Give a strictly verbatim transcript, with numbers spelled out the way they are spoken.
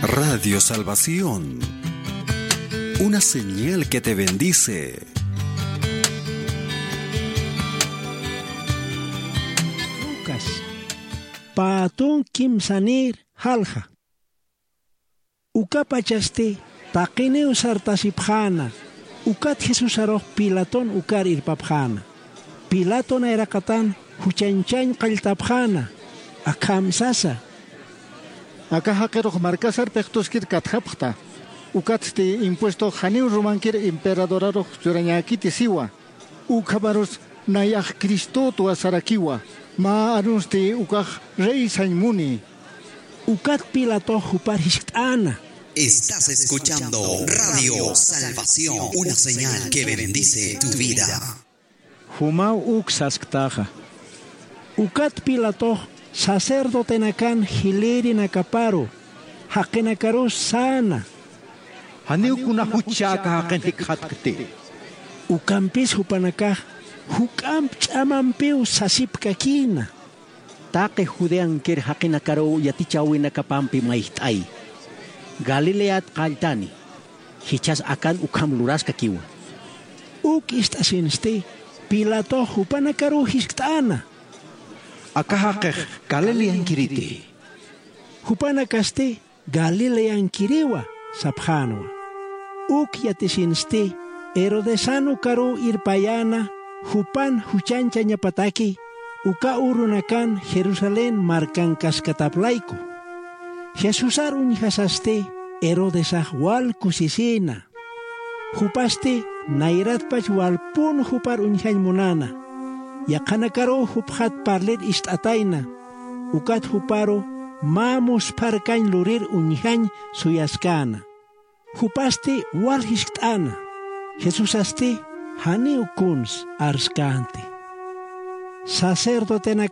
Radio Salvación, una señal que te bendice. Lucas, pä tun kimsanïr jalja. Ukapachasti taqiniw sartasipxäna, ukat Jesusarux Pilaton ukar irpapxäna. Pilato nayraqatan juchañchañ qalltapxäna, akham sasa: Aka jaqirux markasar pixtuskir katjapxta, ukatsti impuestox janiw Romankir emperadorarux churañäkiti siwa. Ukhamarus nayax Cristotwa sarakiwa, mä arusti ukax rey sañ muni. Ukat Pilatox jupar jiskt'äna: Estás escuchando Radio Salvación, una señal que bendice tu vida. Jumaw uk sasktaxa. Ukat Pilatox sacerdotenakan jilïrinakaparu jaqinakarus säna: Janiw kuna juchchä aka jaqin jikxatkti. Ukampis jupanakax juk'amp ch'amampiw sasipkakïna: Taqi Judeankir jaqinakaruw yatichäwinakapampi mayjt'ay. Galileat qalltani, jichhas akan ukham luraskakiwa. Uk ist'asinsti Pilatox jupanakaruw jiskt'äna: Aka jaqix Galileankiriti. Jupanakasti Galileankiriwa sapxänwa. Uk yatisinsti Herodesan ukaruw irpayäna jupan juchañchañapataki, uka urunakan Jerusalén markankaskatap layku. Jesusar uñjasasti Herodesax wal kusisïna. Jupasti nayratpach walpun jupar uñjañ munäna. Yaqhanakaruw jupxat parlir ist'atayna, ukat juparu mä muspharkañ lurir uñjañ suyaskäna. Jupasti wal jiskt'äna, Jesusasti janiw kuns arskänti. Sacerdotenak